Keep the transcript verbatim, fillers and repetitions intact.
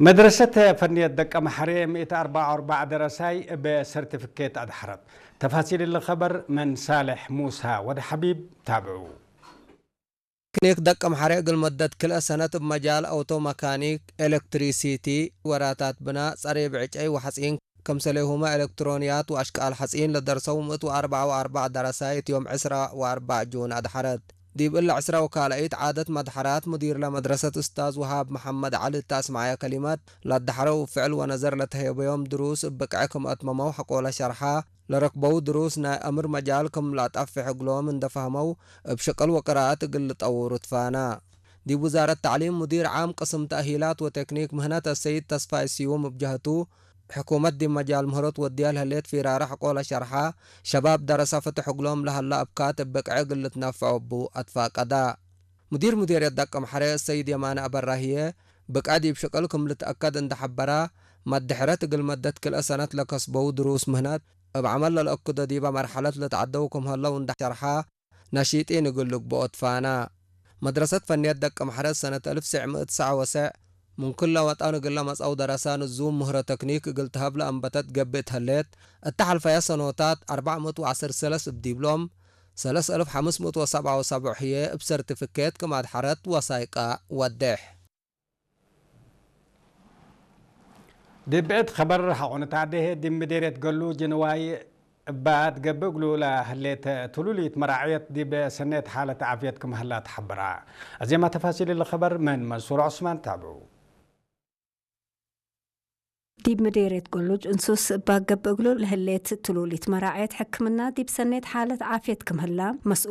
መድረሰት ፈንየት ደቀምሐሬ ምእት አርበዕ ወአርበዕ ደረሳይ እብ ሰርቲፊኬት አድሐረት። ተፋሲል እሊ ኸበር ምን ሳልሕ ሙሳ ወድ ሐቢብ ታብዑ። ክኒክ ደቀምሐሬ እግል መደት ክልኤ ሰነት እብ መጃል አውቶ መካኒክ፣ ኤለክትሪሲቲ፣ ወራታት ብናእ፣ ጸሬ ብዕጨይ ወሐጺን፣ ክምሰሌሁመ ኤለክትሮንያት ወአሽቃል ሐጺን ለደርሰው ምእት ወአርበዕ ወአርበዕ ደረሳይ እት ዮም ዕስራ ወአርበዕ ጁን አድሐረት። ዲብ እለ ዕስራ ወካልኢት ዓደት መድሐራት ሙዲርለ መድረሰት እስታዝ ወሃብ መሐመድ ዐሊ እተ አስመዐየ ከሊመት፣ ለአድሐረው እብ ፍዕል ወነዘር ለተሄበዮም ድሩስ እብ ብቅዐ ክም አትመመው ሐቆለ ሸርሐ፣ ለረክበው ድሩስ ናይ አምር መጃል ክም ለአጠፍሕ እግሎም እንደ ፈህመው፣ እብ ሽቅል ወቅራአት እግል ልጠውሩ ትፋና። ዲብ ውዛረት ተዕሊም ሙዲር ዓም ቅስም ተእሂላት ወቴክኒክ ምህነት አሰይድ ተስፋይ ስዩም እብ ጀህቱ፣ ሕኩመት ዲብ መጃል ምህሮ ትወድያ ለህሌት ፊራረ ሐቆለ ሸርሐ፣ ሸባብ ደረሰ ፍትሕ እግሎም ለሀላ እብካት እብ ብቅዐ እግል ልትነፈዖ እቡ አትፋቀዳ። ሙዲር ሙዴርየት ደቀምሐሬ አሰይድ የማነ አበራ ህዬ፣ ብቅዐ ዲብ ሽቅል ክም ልትአከድ እንደ ሐበራ፣ መድሕረት እግል መደት ክልኤ ሰነት ለከስበው ድሩስ ምህነት፣ እብ ዐመል ለልአክዶ ዲበ መርሐለት ልትዐደው ክም ሀለው እንደ ሸርሐ፣ ነሺጢን እግል ልግብኦ ትፋና። መድረሰት ፈንየት ደቀምሐሬ ሰነት አልፍ ወትሰዕ ምእት ወትስዐ ወትሰዕ ምን ክለ ወጠን እግል ለመጽአው ደረሰ ንዙም ምህሮ ተክኒክ እግል ተሀብ ለአንበተት ገብእ እት ህሌት፣ እተ ሐልፈየ ሰኖታት አርበዕ ምእት ወዐስር ሰለስ እብ ዲብሎም፣ ሰለስ አልፍ ሐምስ ምእት ወሰብዓ ወሰብዕ ህዬ እብ ሰርቲፊኬት ክም አድሐረት ወሳይቀ ወዴሕ። ዲብ ብዕድ ኸበር ሐቆ ንትአዴ ህዬ፣ ዲብ ምዴርየት ገሉጅ ንዋይ እባ ትገብእ እግሉ ለህሌት ትሉሊት መራዕየት ዲብ ሰኔት ሓለት ዓፍየት ክም ሀላ ተሐበረ። አዜመ ተፋሲል እሊ ኸበር ምን መንሱር ዑስማን ታብዑ። ዲብ ምዴርየት ገሉጅ እንሱስ እባ ገብእ እግሉ ለህሌት ትሉሊት መራዕየት ሕክምና ዲብ ሰኔት ሓለት ዓፍየት ክም ሀላ መስኡል